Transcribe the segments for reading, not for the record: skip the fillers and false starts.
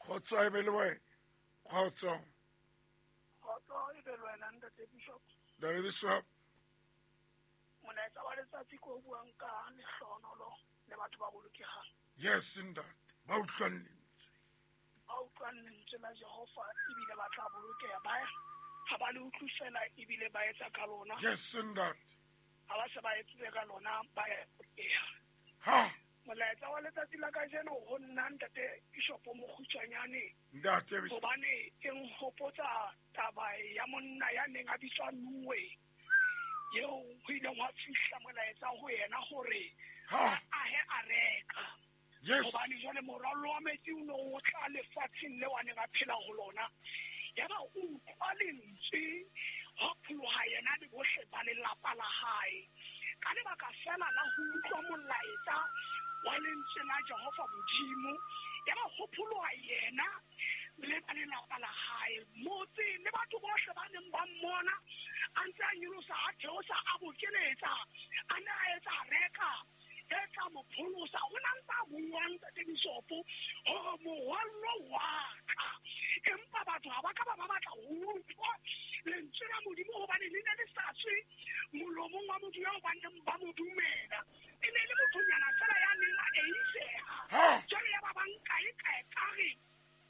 Kgotso e be le wena. Kgotso. Kgotso e be le wena, Ntate Bishop. Ntate Bishop. Molaetsa wa letsatsi ko buang ka lehlohonolo le batho ba bolokegang. Yes, ntate. Ba utlwang lentswe. Ba utlwang lentswe la Jehova ebile ba tla bolokeha. Ba ha ba le utlwe fela ebile ba etsa ka lona. Yes, ntate. Ha ba se ba etsitse ka lona ba ya bolokeha. Ha. Molaetsa wa letsatsi la kajeno ho nna Ntate Bishop o mokgutshwanyane. Ntate Bishop. Hobane e nhopotsa taba ya monna ya neng a bitswa Noe, eo ho ileng hwa fihla molaetsa ho yena hore Ha. a ahe areka. Yes. Hobane jwale morwallo wa metsi o ne o tla lefatsheng leo a neng a phela ho lona. Yaba o utlwa lentswe, hwa pholoha yena le bohle ba lelapa la hae. Ka lebaka fela la ho utlwa molaetsa wa lentswe la Jehova Modimo, yaba ho pholoha yena le ba lelapa la hae. Motse le batho bohle ba neng ba mmona a ntse a nyolosa, a theosa, a bokeletsa, a ne a etsa areka e tla mo pholosa. O ne a ntse a bua, Ntate Bishopo, hore morwallo wa tla. Empa batho ha ba ka ba ba batla ho utlwa lentswe la Modimo, hobane le ne le sa tswe molomong wa motho eo ba neng ba mo dumela. E ne le mothonyana fela ya neng a eiseha. Ha. Jwale ya ba ba nka e ka ekare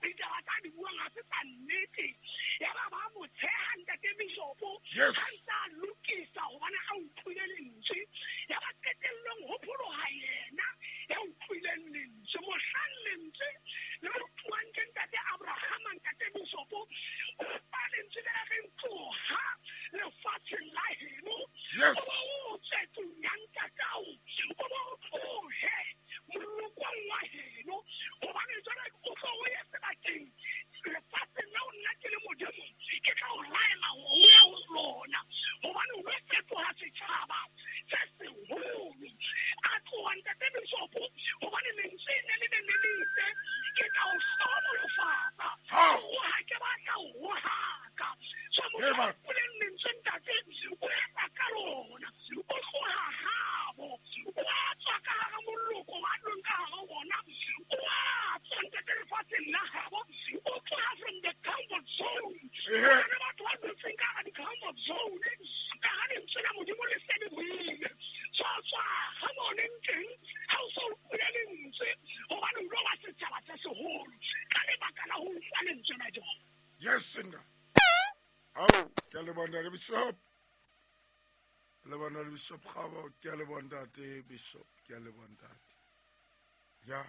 ditaba tsa di buang ha se tsa nnete. Ya ba ba mo tsheha, Ntate Bishopo. Yes. Ha ntse a lokisa hobane a utlwile lentswe. Ya ba qetellong ho pholoha yena ya utlwileng lentswe. Mohlang lentswe le utlwang ke Ntate Abrahama, Ntate Bishopo, o fa lentswe le reng tloha lefatsheng la heno. Yes. O ba o tswe tlung ya ntatao. O ba o tlohe molokong wa heno. Hobane jwale o tlo o ye sebakeng lefatsheng leo nna ke le Modimo, ke tla o laela hore o ye ho lona. Hobane o lo fetoha setjhaba se seholo. A tloha, Ntate Bishopo, hobane lentswe ne le neng le le itse, ke tla o hlohonolofatsa. Ha. O ha ke batla ho rohaka. So motho Eba. a utlwileng lentswe, ntate, o etsa ka lona. O tloha habo. O a tswa ka hara moloko wa leng ka hara ona. O a tswa, ntate, lefatsheng la habo. O tloha from the comfort zone. Ehe. Ho na le batho ba dutseng ka hara di-comfort zone. Ka ha lentswe la Modimo le se le buile. So tswa ha mo leng teng, ha o so utlwile lentswe, hobane o lo ba setjhaba se seholo. Ka lebaka la ho utlwa lentswe la Jehova. Yes, nna. Ao, ke a leboha Ntate Bishop. Leboha Ntate Bishop Kgabo, ke a leboha Ntate Bishop, ke a leboha ntate. Ya.